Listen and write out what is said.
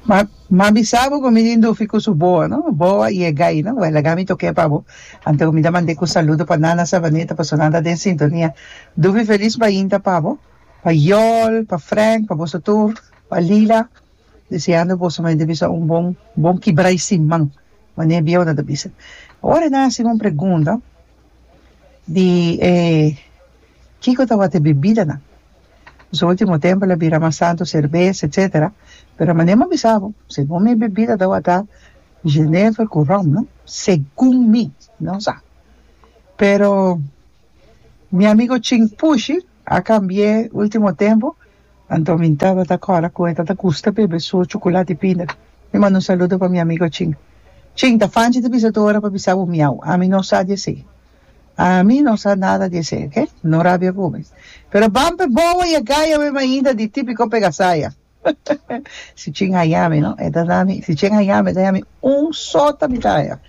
Ma m'a bisa bo ku mi tin dufi ku su boa no, boa i e gai no. Wèl laga mi tok'é pa bo. Anto mi ta mand'é ku saludo pa Nana Sabaneta pasobra nan ta den sintonia. Dufi felis mainta pa bo, pa Yol, pa Frank, pa boso tur, pa Lila. Deseando boso mente bisa un bon bon kibra i siman, manera bieu nan ta bisa. Ora nan hasi un pregunta di e kiko tabata e bebidanan. Nos ultimo tempo el a bira mas tanto serbes etcetera, pero manera mi a bisa bo, segun mi bebida tabata jenever cu rum no, segun mi, no sa. Pero mi amigo Ching Pushi a cambi'e ultimo tempo, anto mi tabata cora cu e tabata gusta bebe su chocolate y pinda. Mi manda un saludo pa mi amigo Ching. Ching, ta fanchi ta bisa tur ora pa bisa bo miau, ami no sa di esey. Ami no sa nada di esei, ok? No rabia ku mi. Pero ban p'e bobo i e gaya mi mainta di típiko pegasaya. Si chin haña mi, no? E ta da mi, si chin haña mi, e ta haña mi un sota mi ta haña.